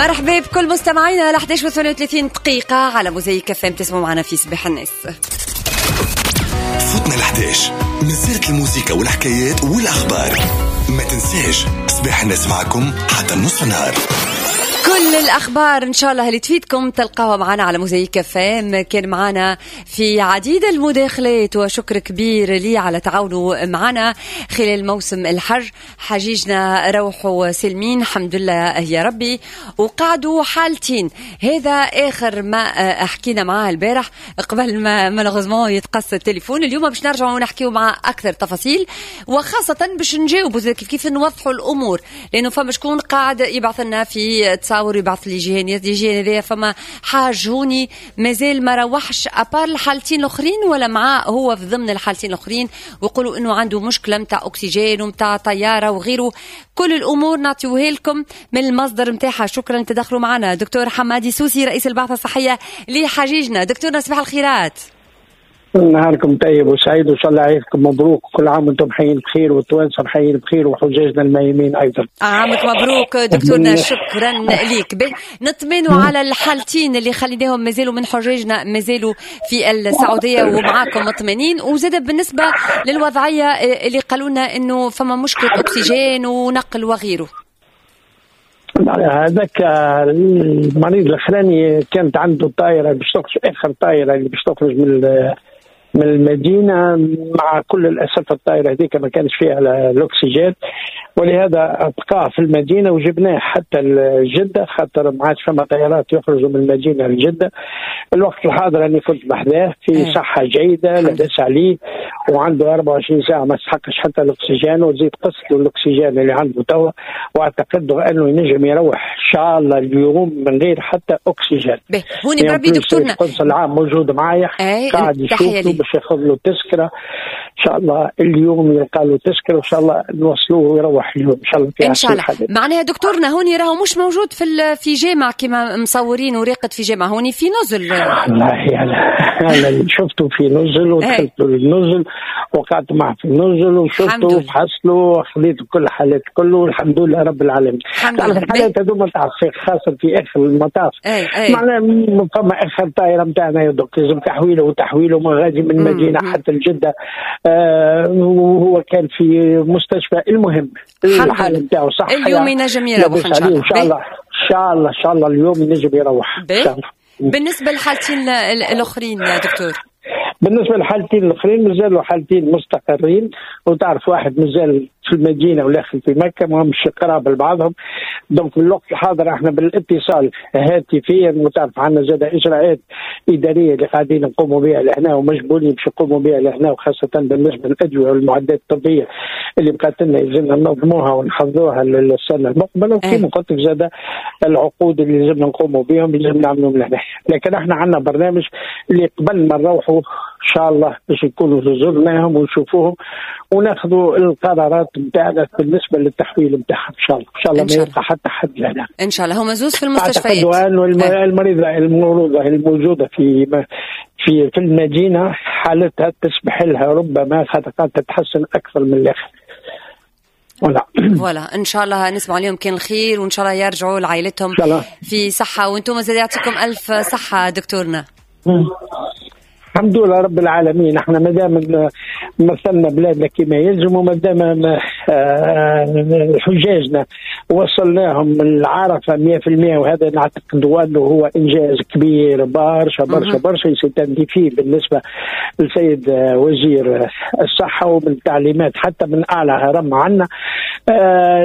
مرحبا بكل مستمعينا على 11:38 دقيقة على موزايك اف ام، تسمعوا معنا في صباح الناس. فوتنا ال 11 من سيرة الموسيقى والحكايات والأخبار. ما تنساش صباح الناس معكم حتى نص النهار. كل الأخبار إن شاء الله اللي تفيدكم تلقاوها معنا على موزايك اف ام. كان معنا في عديد المداخلات وشكر كبير لي على تعاونه معنا خلال موسم الحج. حجيجنا روحوا سلمين الحمد لله يا ربي، وقعدوا حالتين. هذا آخر ما حكينا معاه البارح قبل ما malheureusement يتقص التليفون. اليوم باش نرجعوا ونحكيو مع أكثر تفاصيل، وخاصة باش نجاوبوا كيف كيف نوضحوا الأمور، لأنه فما شكون قاعد يبعث لنا في تصاور، يبعث لي جيهان جيهان هذايا فما حاج هوني مازال ما روحش à part الحالتين الاخرين ولا معاه هو في ضمن الحالتين الاخرين، ويقولوا انه عنده مشكلة نتاع اكسجين ومتاع طيارة وغيره. كل الامور نعطيوها لكم من المصدر نتاعها. شكرا تدخلوا معنا دكتور حمادي سوسي رئيس البعثة الصحية لحجيجنا. دكتورنا صباح الخيرات. نهاركم طيب وسعيد، وان شاء الله عيدكم مبروك، كل عام وانتم حيين بخير والتوانسه حيين بخير وحجاجنا الميمين ايضا. عامك مبروك دكتورنا، شكرا ليك. نطمنوا على الحالتين اللي خليناهم مازالوا من حجاجنا مازالوا في السعودية ومعاكم مطمئنين، وزاد بالنسبة للوضعيه اللي قالوا لنا انه فما مشكلة اكسجين ونقل وغيره. هذاك المريض الاخراني كانت عنده طائره باش تخرج، اخر طائره اللي باش تخرج من المدينة، مع كل الاسف الطائرة هذيك ما كانش فيها الاكسجين، ولهذا بقى في المدينة وجبناه حتى لجده، خاطر ما عادش فما طيارات يخرجوا من المدينة لجده. الوقت الحاضر انا كنت بحذاه في صحة جيدة، لاباس عليه، وعنده 24 ساعة ما استحقش حتى الاكسجين، وزيد قص له الاكسجين اللي عنده توا، واعتقد انه ينجم يروح ان شاء الله اليوم من غير حتى اكسجين. هوني بربي دكتورنا القنصل العام موجود معايا قاعد يشوف باش ياخذ له تذكره ان شاء الله اليوم، يلقى له تذكره وان شاء الله نوصلوه ويروح اليوم ان شاء الله. ان شاء الله. معناها دكتورنا هوني راهو مش موجود في جامع كما مصورين وراقد في جامع، هوني في نزل. والله انا اللي شفته في نزل، ودخلت النزل وقعدت معه في النزل وشفته وفحصت له وخذيت كل الحالات كله، والحمد لله رب العالمين. الحالات هذوما تعرف خاصة في اخر المطاف، معناها فما اخر طائره نتاعنا يا دكتور لازم تحويله وتحويله من غادي من المدينة حتى لجده، وهو كان في مستشفى. المهم الحالة نتاعو صح، اليوم ينجم يروح ان شاء الله. ان شاء الله ان شاء الله ان شاء الله اليوم ينجم يروح ان شاء الله. بالنسبة للحالتين الاخرين دكتور؟ بالنسبة للحالتين الاخرين مازالوا حالتين مستقرين، وتعرف واحد مازال في المدينة والاخر في مكة، ما همش قراب لبعضهم. donc في الوقت الحاضر احنا بالاتصال هاتفيا، وتعرف عندنا زاد اجراءات ادارية اللي قاعدين نقوموا بها لهنا ومجبورين باش نقوموا بها لهنا، وخاصة بالنسبة للادوية والمعدات الطبية اللي بقات لنا يلزمنا ننظموها ونحضروها للسنة المقبلة، وكما قلت لك زاد العقود اللي لازمنا نقوموا بهم لازم نعملوهم لهنا. لكن احنا عندنا برنامج اللي قبل ما نروحوا ان شاء الله باش نكونوا زرناهم ونشوفوهم وناخذوا القرارات نتاعنا بالنسبة للتحويل نتاعهم ان شاء الله. ان شاء الله ما يبقى حتى حد لنا ان شاء الله. هما زوز في المستشفيات. اعتقد انه المريضة المولوده الموجودة في في في المدينة حالتها تسمح لها ربما خاطر تتحسن اكثر من الاخر. voilà ان شاء الله نسمع عليهم كان الخير، وان شاء الله يرجعوا لعائلتهم في صحة، وانتم زاد يعطيكم الف صحة دكتورنا. الحمد لله رب العالمين. احنا ما دام مثلنا بلادنا كما يلزم، وما دام حجاجنا وصلناهم العرفة 100%، وهذا نعتقد انه هو انجاز كبير برشا برشا برشا، c'est un défi بالنسبة للسيد وزير الصحة ومن التعليمات حتى من اعلى هرم عنا.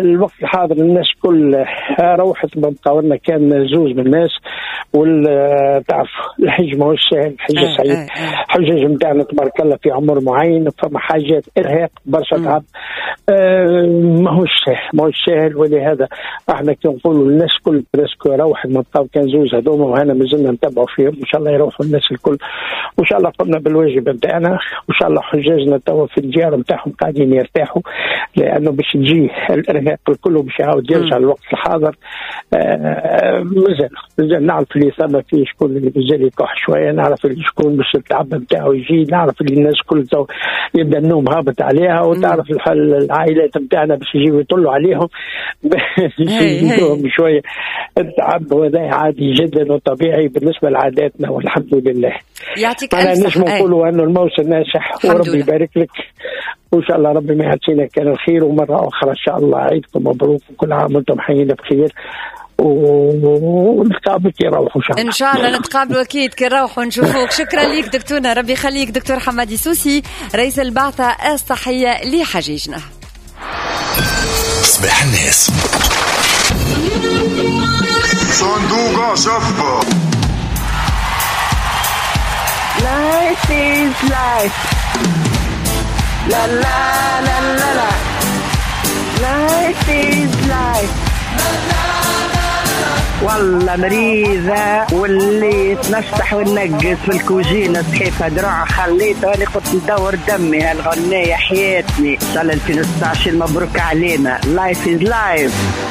الوقت الحاضر الناس كل روحت، ما بقاو لنا كان زوز من الناس، وتعرف الحج ماهوش ساهل، الحج صعيب. حجاج نتاعنا تبارك الله في عمر معين، فما حاجات ارهاق برشا تعب، ماهوش ساهل ماهوش ساهل. ولهذا احنا كي نقولوا الناس كل presque روحت، ما بقاو كان زوز هذوما، وهنا مازلنا نتبعوا فيهم، وان شاء الله يروحوا الناس الكل، وان شاء الله قمنا بالواجب نتاعنا، وان شاء الله حجاجنا توا في الديار نتاعهم قاعدين يرتاحوا، لانه باش تجي الارهاق الكل باش يعاود يرجع للوقت الحاضر. مازال نعرف اللي ثم فيه شكون اللي مازال يكح شوية، نعرف اللي شكون باش التعب نتاعو يجي، نعرف اللي الناس كل تو يبدا النوم هابط عليها، وتعرف العائلات نتاعنا باش يجيو يطلوا عليهم يزيدوهم شوية. التعب وهذا عادي جدا وطبيعي بالنسبة لعاداتنا والحمد لله. يعطيك الف صحة. نجم نقولوا انه الموسم ناجح وربي يبارك لك، وان شاء الله ربي ما يعطينا كان الخير. ومرة اخرى ان شاء الله عيدكم مبروك وكل عام وانتم حيين بخير، ونتقابل كي نروحوا ان شاء الله. ان شاء الله نتقابلوا اكيد كي نروحوا نشوفوك. شكرا لك دكتورنا، ربي يخليك. دكتور حمادي سوسي رئيس البعثة الصحية لحجيجنا. صباح الناس صندوق شفة. Life is life. La la la la la. Life is life. والله مريضة واللي تنشطح ونقص في الكوجينة صحيفة دروع خليتها وانا قلت ندور دمي هالغنية حياتني. ان شاء الله 2019 مبروك علينا. Life is life.